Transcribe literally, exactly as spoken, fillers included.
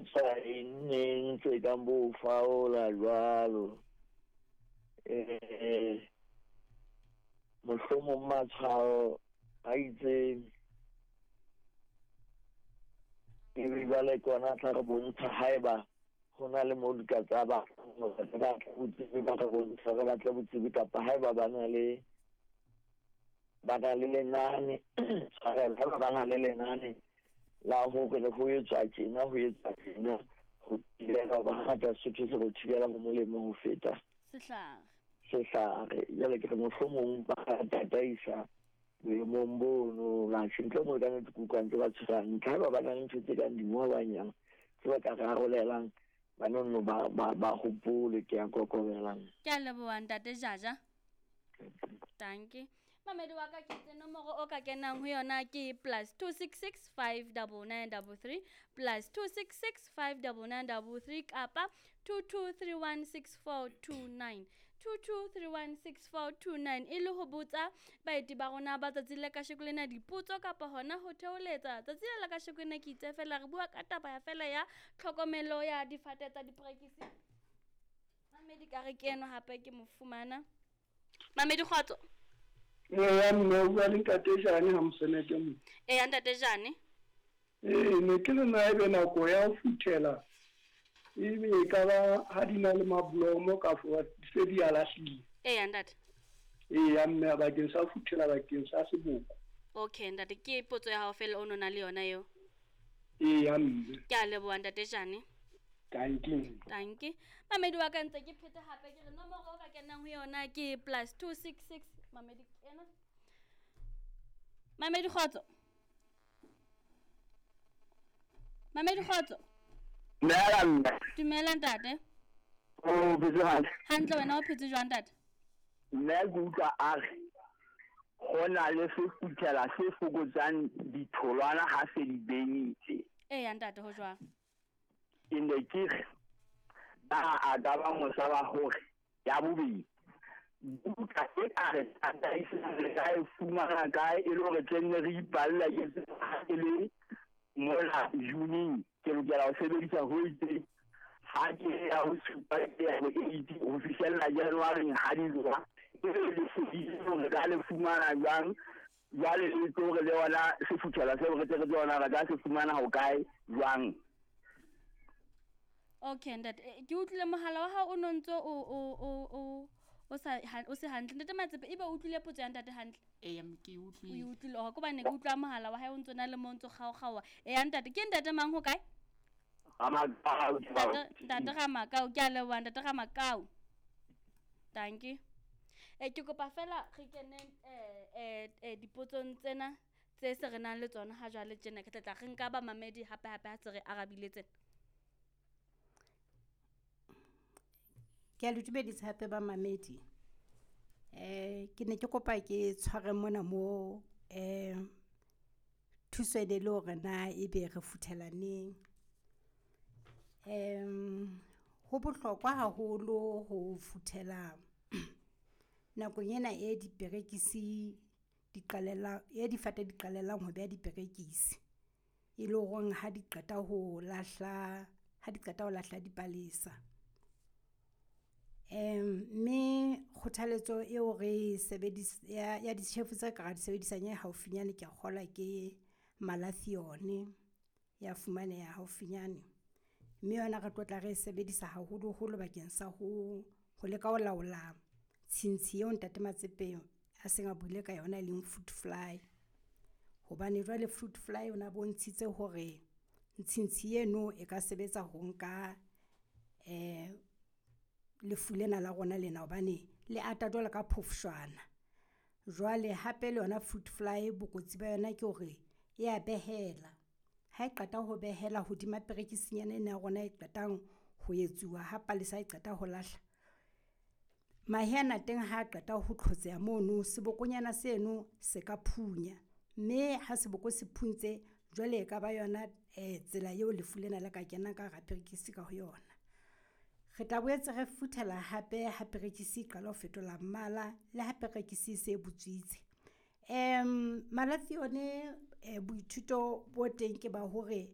etswa eng neng tse kang bo faola jwalo. Eh mohlomong matshwao a itseng ebe jwale ke ona a tla re bontsha haeba ho na le moo di ka tsa ba botsebi ba re bontsha re batle botsebi kapa haeba ba na le ba na le lenane tshwarelo haeba ba na le lenane la hore le ho etswa tjena ho etswa tjena ho thibela hoba hangata Sesotho se re thibela ho molemo ho feta sehlare sehlare. Jwale ke re mohlomong ba tataisa boemong bono atjhe ntle moo ka nnete ke utlwa ntse ba tshwere hantle. Haeba ba na le ntho tse kang dingolwanyana tse ba ka re arolelang ba nonno ba ba ba hopole ke a kokobelang. Ke a leboha ntate Jaja. Dankie. Mamedi wa ka ke itse nomoro o ka kenang ho yona ke plus two six six five double nine double three plus two six six five double nine double three kapa two two three one six four two nine two two three one six four two nine e le ho botsa baeti ba rona ba tsatsi le kasheko lena dipotso kapa hona ho theoletsa tsatsi le la kasheko lena ke itse fela re bua ka taba ya fela ya tlhokomelo ya difate tsa diperekisi. Mamedi ka re ke eno hape ke mo fumana. Mamedi kgotso. Eya mme o bua le ntate Jane ha Moseneke mo. Eya ntate Jane. Ee ne ke le nna ebe nako ya ho futhela ebe e ka ba ha di na le mablomo kafo di se di a lahlile. Eya ntate. Eya mme bakeng sa ho futhela bakeng sa seboko. Okay ntate ke potso ya hao fela o no na le yona eo. Eya mme. Ke a leboha ntate Jane. Dankie. Dankie. Mamedi wa ka ntse ke phete hape ke re nomoro o ka kenang ho yona ke plus two six six Mamedi ena. Mamedi kgotso. Mamedi kgotso. Dumela mme. Dumela ntate. O phetse hantle. Hantle wena o phetse jwang ntate? Mme ke utlwa a re ho na le sefuthela se fokotsang ditholwana ha se di benyitse. Eya ntate ho jwang? Ke ne ke re ba a ka ba mosa wa hore ya bobedi buka e ka re tataisang re ka e fumana kae e le hore tle nne re ipalla ke e le mola June ke lokela ho sebedisa ho itseng ha ke ya ho supa ke ya ho eight ho fihlella January ha di jwa e le lesedi hore ka le fumana jwang jwale le tlo re le yona sefuthela seo re tle re tsona re ka se fumana ho kae jwang. Okay ntate ke utlwile mohala wa hao o no ntso o o o o o sa o se hantle ntate Matsepe ebe o utlwile potso ya ntate hantle. Eya ke utlwile. O utlwile ho hobane ke utlwa mohala wa hae o ntso na le mo ntso kgaokgaoa. Eya ntate ke ntate mang ho kae? Ramakau. Ntate ntate Ramakau ke a leboha ntate Ramakau. Dankie. Eh ke kopa fela re keneng eh eh eh dipotsong tsena tse se re nang le tsona ha jwale tjena ke tla tla re nka ba mamedi hape hape ha se re arabile tsena. Ke a le dumedisa hape ba mamedi. Eh ke ne ke kopa ke tshware mona mo eh thuso e ne le hore na ebe re futhela neng. Em ho bohlokwa haholo ho futhela nakong ena e diperekisi di qalella e difate di qalellang ho beha diperekisi. E le horeng ha di qeta ho lahla ha di qeta ho lahla dipalesa. Em mme kgothaletso eo re sebedis ya ya ditjhefu tse ka ra di sebedisang e haufinyane ke a kgolwa ke malathione ya fumaneha haufinyane. Mme yona re tlo tla re e sebedisa haholoholo bakeng sa ho ho leka ho laola tshintshi eo ntate Matsepe a seng a buile ka yona e leng fruit fly. Hobane jwale fruit fly o na bontshitse hore ntshintshi eno e ka sebetsa ho nka eh lefu lena la rona lena hobane le ata jwalo ka phofshwana. Jwale hape le yona fruit fly bokotsi ba yona ke hore e a behela. Ha e qeta ho behela hodima perekisinyana ena ya rona e qetang ho etsuwa ha palesa e qeta ho lahla. Mahe ana teng ha qeta ho tlhotseha mono sebokonyana seno se ka phunya. Mme ha seboko se phuntse jwale e ka ba yona eh tsela eo lefu lena le ka kenang ka hara perekisi ka ho yona. Re tla boetse re futhela hape ha perekisi e qala ho fetola mmala le ha perekisi e se e butswitse. Em malathione eh boithuto bo teng ke ba hore